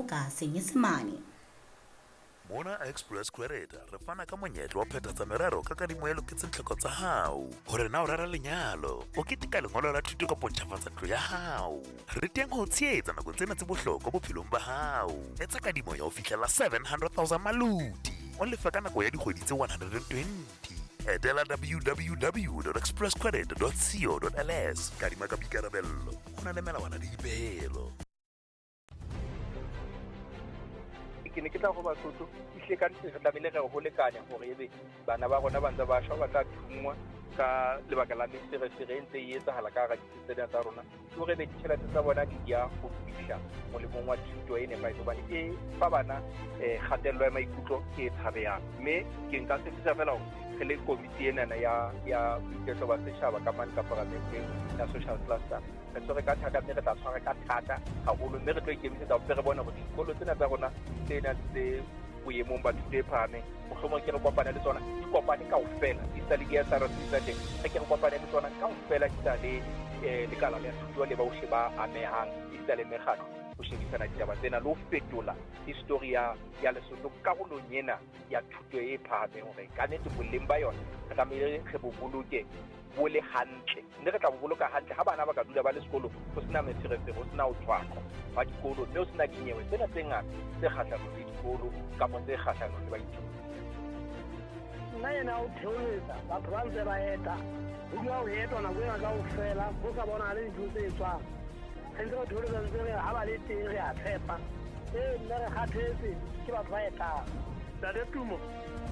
ka Senyesemane. Mona Express Credit re fana ka monyetla wa phethatsa merero ka kadimo e loketseng tlhoko tsa hao. Hore na o rera lenyalo, o keteka lengolo la thuto kapa o ntjhafatsa ntlo ya hao. Re teng ho o tshehetsa nakong tsena tse bohlokwa bophelong ba hao. Etsa kadimo ya ho fihlela 700,000 maloti, o lefe ka nako ya dikgwedi tse 120. Etela www.expresscredit.co.ls. Kadima ka boikarabello, ho na le melawana le dipehelo. Ke ne ke tla go Basotho ehlile ka nnete re tlamehile re ho lekane hore ebe bana ba rona ba ntse ba shwa ba tla thunngwa ka lebaka la meferefere e ntse e etsahala ka hara ditsi tsena tsa rona, ke hore ebe ditjhelete tsa bona di ya ho fihla molemong wa thuto e nepahetse, hobane e fa bana um kgatello ya maikutlo e tshabehang. Mme ke nka tshepisa fela hore re le komiti enana ya ya boiketlo ba setjhaba ka mane ka paramenteng ya social cluster, re tshwere ka thata mme re tla tshwara ka thata haholo, mme re tlo ikemisetsa ho re bone hore dikolo tsena tsa rona tse nang tse boemong ba thuto e phahameng, mohlomong ke re kopane le tsona, di kopane kaofela, di sa le di-S_R_C tsa teng, re ke re kopane le tsona kaofela, di sa le um lekala la thuto le bohle ba amehang, esita le mekgatlo, ho shebisana ditaba tsena le ho fetola histori ya ya Lesotho karolong ena ya thuto e phahameng, hore ka nnete boleng ba yona re tlamehile re bo boloke bo le hantle, mme re tla bo boloka hantle ha bana ba ka dula ba le sekolong, ho sena meferefere, ho sena ho tshwaqwa hwa dikolo, mme ho sena dinyewe tsena tse ngata tse kgahlanong le dikolo kapa tse kgahlanong le baithuti. Nna ena o theoletsa batho ba ntse ba eta, ho dula ho etwa nako ena kaofela, ho sa bonahale dintho tse etswang. Re ntse re theoletsa ntse re ha ba le teng re a tshepa. Ee, nna re kgathetse ke batho ba etang. Ntate Tumo,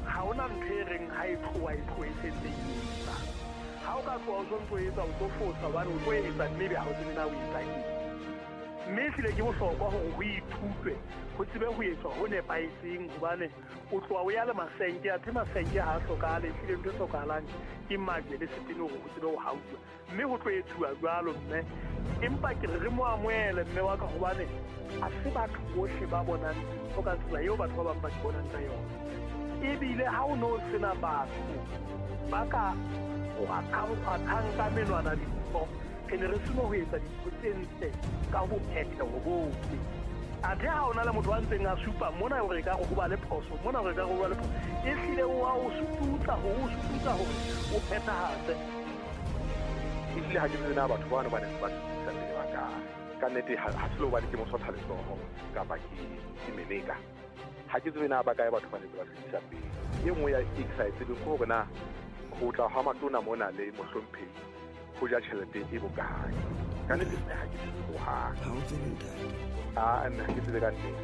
ha hona ntho e reng ha e tloha e tlohe e sentse e etsa. Ha o ka tloha o sontso o etsa o tlo fosa hobane o tlo etsa mme ebe ha o tsebe na o etsa eng. Mme ehlile ke bohlokwa hore ho ithutwe, ho tsebe ho etswa ho nepahetseng hobane o tloha o ya le masenke, athe masenke ha a hlokahale, ehlile ntho e hlokahalang ke majwe le setene hore ho tsebe ho hauwa. Mme ho tlo etsuwa jwalo, mme. Empa ke re re mo amohele, mme wa ka, hobane ha se batho bohle ba bonang dintho ka tsela eo batho ba bang ba di bonang ka yona. Ebile ha o no sena batho ba ka kgwathang ka menwana dintho, re ne re seno ho etsa dintho tse ntle ka bophetheho bohle. Athe ha o na le motho a ntseng a supa mona hore ekare ho ba le phoso, mona hore ekare ho ba le phoso, ehlile o a o sututsa hore o sututsa hore o phethahatse. Ehlile ha ke tsebe na batho bano ba neng ba fetisa pele ba kae. Ka nnete ha se le hobane ke mo sotha letsoho kapa ke ke meleka. Ha ke tsebe na ba kae batho ba neng ba fetisa pele. E nngwe ya e ke sa e tsebeng ke hore na ho tla hwa matona mona le mohlomphehi ho ja tjhelete e bokae. Ka nnete nna ha ke tsebe hohang. Ha o tsebe ntate. Ah, nna ha ke tsebe ka nnete.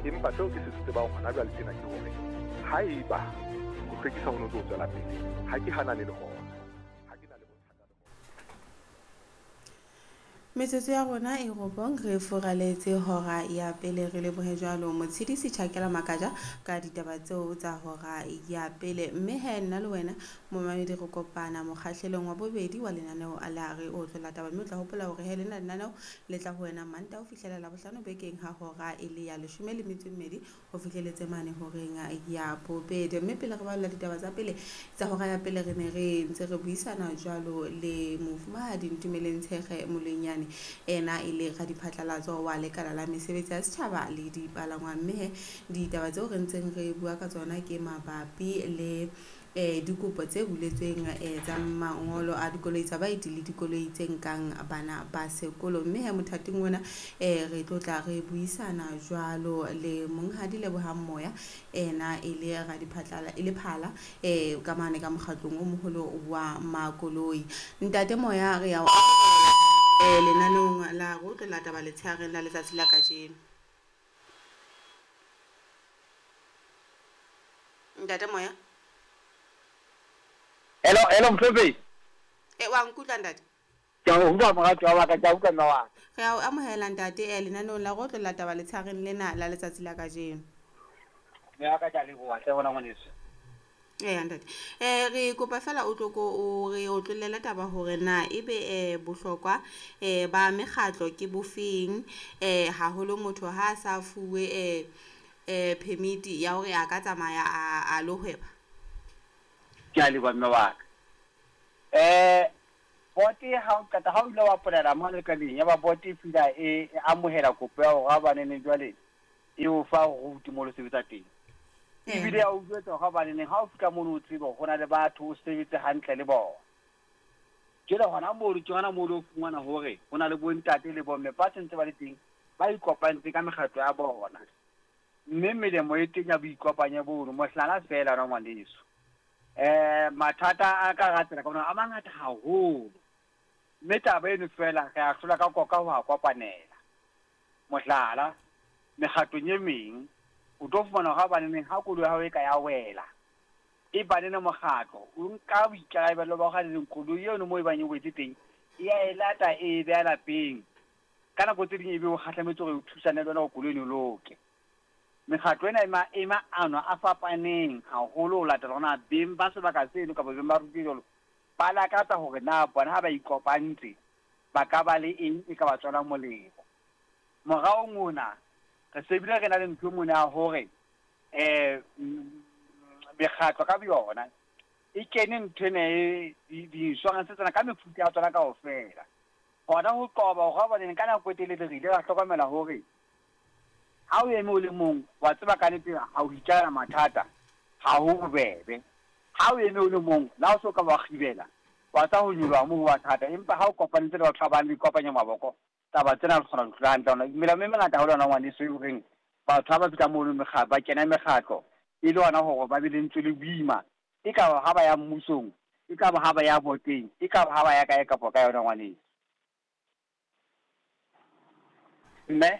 Empa seo ke se tsebang hona jwale tjena ke hore haeba ho hlwekisa ho no ntso tswela pele, ha ke hanane le hona. Ha ke na le bothata le hona. Metsotso ya rona e robong re furaletse hora ya pele, re lebohe jwalo Motshedisi Tjhakela Makaja ka ditaba tseo tsa hora ya pele. Mme he nna le wena momamedi re kopana mokgahlelong wa bobedi wa lenaneo la Re Otlolla Taba, mme o tla hopola hore he lena lenaneo le tla ho wena Mantaha ho fihlela Labohlano bekeng ha hora e le ya leshome le metso e mmedi ho fihleletse mane horeng ya bobedi. Mme pele re balola ditaba tsa pele tsa hora ya pele, re ne re ntse re buisana jwalo le mofumahadi Ntumeleng Tshekge Moloinyane, ena e le radiphatlalatso wa lekala la mesebetsi ya setjhaba le dipalangwang. Mme he ditaba tseo re ntseng re bua ka tsona ke mabapi le dikopo tse buletsweng tsa mangolo a dikoloi tsa baeti le dikoloi tse nkang bana ba sekolo. Mme he mothating ona re tlo tla re buisana jwalo le monghadi Lebohang Moya, ena e le radiphatlala e le phala ka mane ka mokgatlong o moholo wa makoloi. Ntate Moya, re ya o amohela lenaneong la Re Otlolla Taba letshehareng la letsatsi la kajeno. Ntate Moya. Hello, hello Mfefe. E wa nkutlwa ntate? Ke a utlwa moratuwa wa ka, ke a utlwa mme wa ka. Re a o amohela ntate lenaneong la Re Otlolla Taba letshehareng lena la letsatsi la kajeno. Mme wa ka, ke a leboha hle wena ngwaneso. Eya ntate. Re kopa fela o tlo ko o re otlollele taba hore na ebe bohlokwa ba mekgatlo ke bofeng, haholo motho ha a sa fuwe permit ya hore a ka tsamaya a lo hweba. Ke a leboha mme wa ka. Bote ha o qeta ha o ile wa polela mane lekaleng ya ba bote e fihla e amohela kopo ya hore ha banene jwale e o fa route mo lo sebetsa teng. Ebile ya o jwetsa hore hobaneneng ha o fihla mono o tsebe hore ho na le batho o sebetse hantle le bona. Jwale hona mono ke hona moo o lo fumana hore ho na le bontate le bomme ba sentse ba le teng ba ikopantse ka mekgatlo ya bona. Mme melemo e teng ya boikopanye bono, mohlala feela wena ngwaneso. Mathata a ka hara tsela ka mona a mangata haholo. Mme taba eno feela re a hlola ka koka ho a kopanela. Mohlala, mekgatlong e meng o tlo fumana hore habaneneng ha koloi ya hao e ka ya wela, e banene mokgatlo o nka boikarabelo ba hore haneneng koloi eno moo e bang e wetse teng e ya e lata e e beha lapeng. Ka nako tse ding ebe o kgahlametse hore o thusane le yona hore koloi eno e loke. Mekgatlo ena e ma e maano a fapaneng haholo ho latela hore na beng ba sebaka seno kapa beng ba ruti jwalo ba lakatsa hore na bona ha ba ikopantse ba ka ba le eng e ka ba tswelang molemo. Moraong ona re se bile re na le ntho mona ya hore mekgatlo ka boyona e kene ntho ena e di-insurance tsena ka mefuta ya tsona kaofela. Hona ho qoba hore hobaneng ka nako e telele re ile ra hlokomela hore ha o eme o le mong wa tseba ka nnete ha o itjalla mathata ha ho bobebe. Ha o eme o le mong le ha o so ka wa kgibela wa tsa ho nyoloha moo ho ba thata, empa ha o kopanetse le batho ba bang le ikopanya maboko taba tsena re kgona ho di hlola hantle. Hona melao e mengata haholo yona ngwaneso e horeng batho ha ba fihla mono ba kena mekgatlo e le hona hore ba be lentswe le boima, e ka ba ha ba ya mmusong, e ka ba ha ba ya boteng, e ka ba ha ba ya kae kapa kae yona ngwaneso. Mme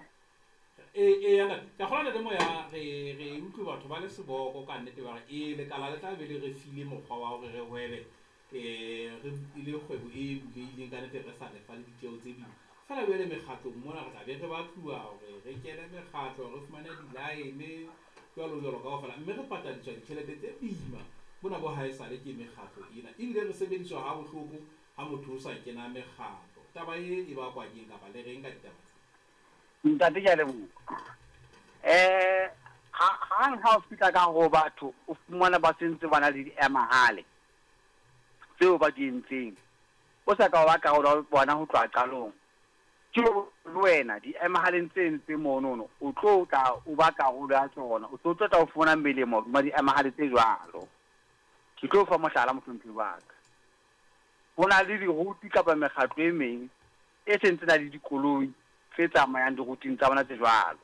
Ee, ee, ntate. Ke a kgolwa ntate Moya, re re utlwe batho ba le seboko ka nnete ba re ee lekala le tla be le re file mokgwa wa hore re hwebe re e le kgwebo e bulehileng ka nnete re sa lefa le ditjeo tse boima. Feela jwale mekgatlong mona re tla be re batluwa hore re kene mekgatlo, re fumane di-line jwalo jwalo kaofela, mme re patadiswa ditjhelete tse boima bona bo haesale ke mekgatlo ena. Ebile re sebediswa ha bohloko ha motho o sa kena mekgatlo. Taba e e bakwa keng kapa le reng ka ditaba tse? Ntate ke a leboha. Hang ha o fihla ka hare ho batho o fumana ba sentse ba na le diemahale tseo ba di entseng. O sa ka wa ba karolo ya bona ho tloha qalong. Ke le wena diemahaleng tse entseng monono o tlo tla o ba karolo ya tsona. O tlo tla o fumana melemo hodima diemahale tse jwalo. Ke tlo fa mohlala mohlomphehi wa ka. Ho na le diruti kapa mekgatlo e meng e sentse na le dikoloi tse tsamayang diruting tsa bona tse jwalo.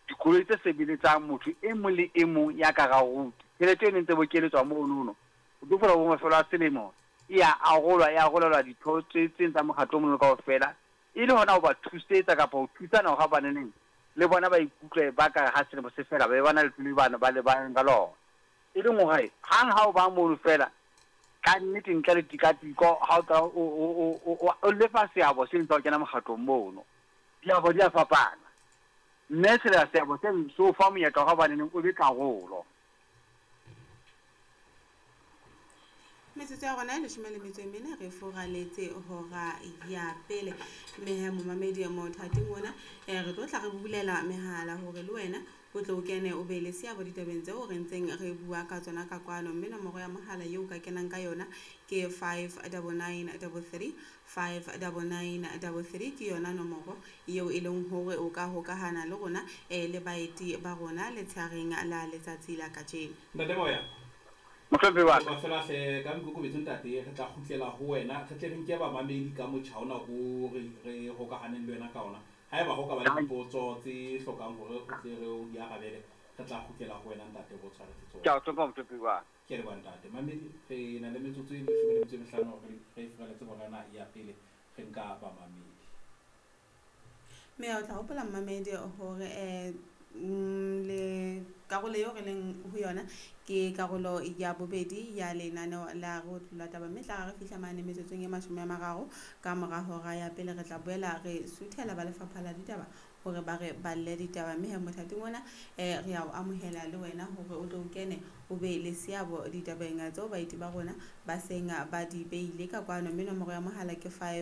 Dikoloi tse sebeletsang motho e mong le e mong ya ka hara ruti. Tjhelete eno e ntse bokeletswa monono. O tlo fumana bo mafelo a selemo e a arolwa, e arolelwa ditho tse itseng tsa mokgatlo o mono kaofela e le hona ho ba thusetsa kapa ho thusana hore habaneneng le bona ba ikutlwe ba ka ha selemo se fela ba be ba na le tlolo bano ba lebaneng ka lona. E leng hore hang ha o ba mono feela ka nnete ntle le tikatiko ha o tla o lefa seabo seno sa ho kena mokgatlong mono. Diabo di a fapana. Mme sela seabo seno se o fa monyetla wa habaneneng o be karolo. Metsotso ya rona e leshome le metso e mene re furaletse hora ya pele. Mme he momamedi mothating ona re tlo tla re bulela mehala hore le wena o tle o kene o be le seabo ditabeng tseo re ntseng re bua ka tsona ka kwano. Mme nomoro ya mohala eo ka kenang ka yona ke 59933, 59933 ke yona nomoro eo e leng hore o ka hokahana le rona le baeti ba rona letsheareng la letsatsi la kajeno. Ntate Moya. Mohlomphehi wa ka. Kopa feela hle ka boikokobetso ntate, re tla kgutlela ho wena re tle re nke bamamedi ka motjha ona o re re hokahaneng le wena ka ona. Haeba ho ka ba le dipotso tse hlokang hore o tle re o di arabele, re tla kgutlela ho wena ntate re o tshwaretse Ke a tsona. o hlompha mohlomphehi wa ka. Ke a leboha ntate. Mamedi, re na le metsotso e leshome le metso e mehlano re re furaletse hora ena ya pele re nka bamamedi. Mme o tla hopola mmamedi hore le karolo eo re leng ho yona ke karolo ya bobedi ya lenaneo la Re Otlolla Taba. Mme tla re fihla mane metsotsong e 30 ka mora hora ya pele re tla boela re suthela ba lefapha la ditaba hore ba re balle ditaba. Mme he mothating ona re a o amohela le wena hore o tlo o kene o be le seabo ditabeng tseo baeti ba rona ba seng ba di beile ka kwano. Mme nomoro ya mohala ke 5